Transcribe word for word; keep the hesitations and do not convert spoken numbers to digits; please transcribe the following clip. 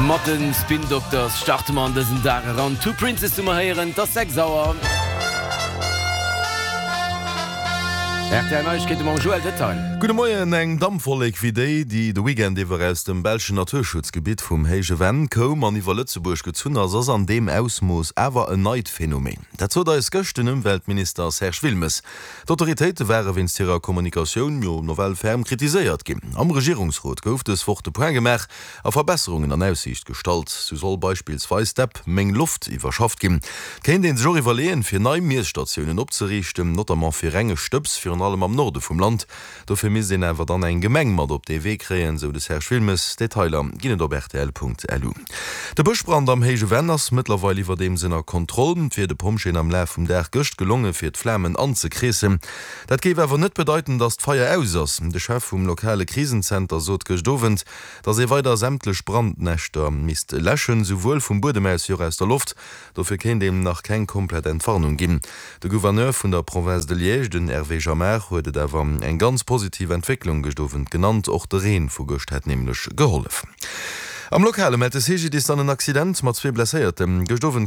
Mat de Spin Doctors starte mer an dësen Dag eran. Two Princes hu mer héieren. Et ass sechs Auer. Rtl Neiegkeete mam Joël Detail. Gudde Moien. Eng Dampwollek wéi déi, déi de Weekend iwwer aus dem belschen Naturschutzgebitt vum Héije Venn koum an iwwer Lëtzebuerg gezunn ass, ass an deem Ausmooss awer en neit Phänomen. Dat sot eis gëscht den Ëmweltminister Serge Wilmes. D'Autoritéite ware wéinst hirer Kommunikatioun jo nawell ferm kritiséiert ginn. Am Regierungsrot gouf dës Woch de Point gemaach a Verbesserungen an Aussiicht gestallt. Sou soll beispillsweis d'App Meng Loft iwwerschafft ginn. Et kéint ee sech och iwwerleeën, fir nei Miesstatiounen opzeriichten, notamment fir renge Stëbs, virun allem am Norde vum Land. Dofir misst een awer dann eng Gemeng mat op dee Wee kréien, sou de Serge Wilmes. Detailer ginn et op rtl.lu. De Bëschbrand am Héije Venn ass mëttlerweil iwwerdeems ënner Kontroll. Et wier de Pompjeeën am Laf vum Dag gëscht gelonge fir d'Flamen anzekreessen. Dat géif awer net bedeiten, datt d'Feier aus ass. De Chef vum lokale Krisenzenter sot gëscht Owend, datt ee weider sämtlech Brandnäschter misst läschen, souwuel vum Buedem aus wéi och aus der Loft. Dofir kéint een nach keng komplett Entwarnung ginn. De Gouverneur vun der Province de Liège, den Hervé Jamard, huet et awer eng ganz positiv Entwécklung gëscht Owend genannt. Och de Reen vu gëscht hätt nämlech gehollef. Am Lokale mellt de CGDIS dann en Accident mat zwee Blesséierten. Gëscht Owend